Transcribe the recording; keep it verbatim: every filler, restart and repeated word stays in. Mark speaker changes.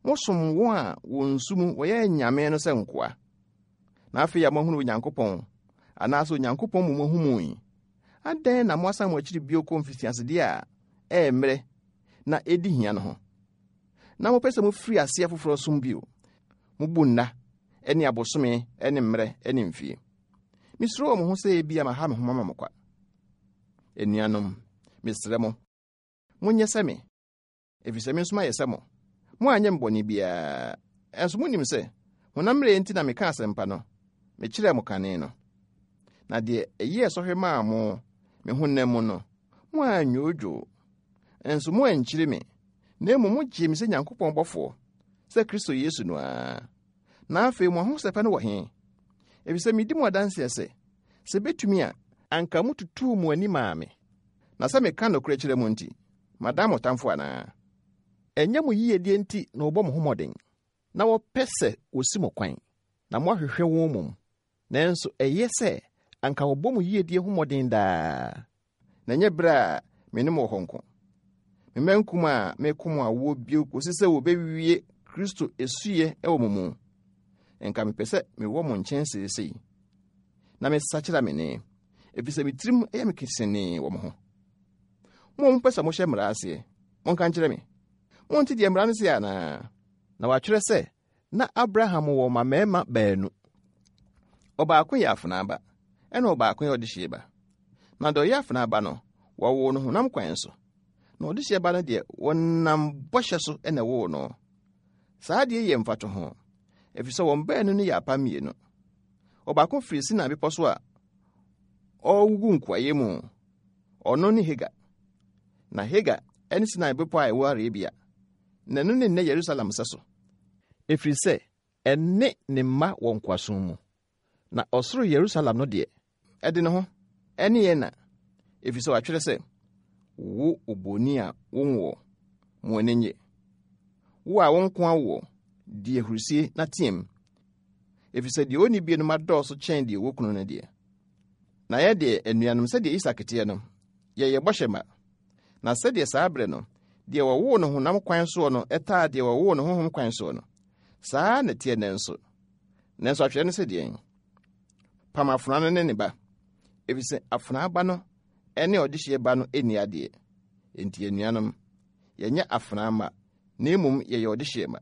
Speaker 1: Mosom wɔn a wɔn nsu mu wɔyɛ anyame no sɛ nkoa. Na afei a moahunu Onyankopɔn, anaasɛ Onyankopɔn mu moahu mu yi, adɛn na moasan mo akyiri bio kɔ mfitiasedeɛ a ɛyɛ mmerɛ na ɛdi hia no ho? Na mopɛ sɛ mofiri aseɛ foforɔ som bio. Mubu nna ne abosome ne mmerɛ ne mfie. Mesuro wɔ mo ho sɛ ebia maha me ho mama mo kwa. Anuanom, mesrɛ mo, monyɛ sɛ me, ɛfiri sɛ me nso mayɛ sɛ mo. Moanyɛ me bɔne biara. Ɛnso monim sɛ honam mmerɛ nti na meka asɛmpa no, mekyerɛɛ mo kane no. Na deɛ ɛyɛɛ sɔhwɛ maa mo me honam mu no, moannwoodwoo. Nso moankyiri me, na mmom mogyee me sɛ Nyankopɔn bɔfoɔ, sɛ Kristo Yesu no ara. Na afei mo ahosɛpɛ no wɔ he? Ɛfiri sɛ medi mo adanseɛ sɛ, sɛ betumi a, anka motutuu mo ani maa me. Na sɛ meka nokorɛ kyerɛ mo nti, madan mo tamfo anaa? Ɛnyɛ mo yiyedie nti na wɔbɔ mo ho mmɔden, na wɔpɛ sɛ wosi mo kwan, na moahwehwɛ wɔn mmom. Nanso ɛyɛ sɛ anka wɔbɔ mo yiyedie ho mmɔden daa. Na ɛnyɛ berɛ a me ne mo wɔ hɔ nko. Me mma nkum a meko mo awoɔ bio kɔsi sɛ wɔbɛwie Kristo esuyɛ wɔ mo mu. Nka mepɛ sɛ mewɔ mo nkyɛn seesei, na mesakyera me nne, ɛfiri sɛ me tirim yɛ me kesenee wɔ mo ho. Mo a mopɛ sɛ mohyɛ mmara aseɛ, monka nkyerɛ me. Monte deɛ mmara no se anaa? Na wɔatwerɛ sɛ, na Abraham wɔ mmammarima baanu. Ɔbaako yɛ afenaa ba, ɛna ɔbaako yɛ ɔdehyeɛ ba. Na deɛ ɔyɛ afenaa ba no, wɔwoo no honam kwan so. Na ɔdehyeɛ ba no deɛ, wɔnam bɔhyɛ so na ɛwoo no. Saa adeɛ yɛ mfatoho, ɛfiri sɛ wɔn baanu no yɛ apam mmienu. Ɔbaako firi Sinai bepɔ so a ɔregugu nkoayɛ mu. Ɔno ne Hagar. Na Hagar ne Sinai bepɔ a ɛwɔ Arabia. Na ɛno ne nnɛ Yerusalem sɛ so. Ɛfiri sɛ ɛne ne mma wɔ nkoasom mu. Na ɔsoro Yerusalem no deɛ, ɛde ne ho, ɛne yɛn na. Ɛfiri sɛ wɔatwerɛ sɛ, wo oboni a wonwoɔ, mo ani nnye. Wo a wo nko awoɔ, di ahurusie na teɛm. Ɛfiri sɛ deɛ ɔnni bie no ma dɔɔso kyɛn deɛ ɔwɔ kunu no deɛ. Na yɛ deɛ, anuanom, sɛdeɛ Isak teɛ no, yɛyɛ bɔhyɛ mma. Na sɛdeɛ saa berɛ no, deɛ wɔwoo no honam kwan soɔ no ɛtaa deɛ wɔwoo no honhom kwan soɔ no, saa na ɛteɛ nnɛ nso. Nanso atwerɛ no sɛ deɛn? Pam afenaa no ne ne ba, ɛfiri sɛ afenaa ba no ne ɔdehyeɛ ba no nni adeɛ. Enti anuanom, yɛnyɛ afenaa mma, na mmom yɛyɛ ɔdehyeɛ mma.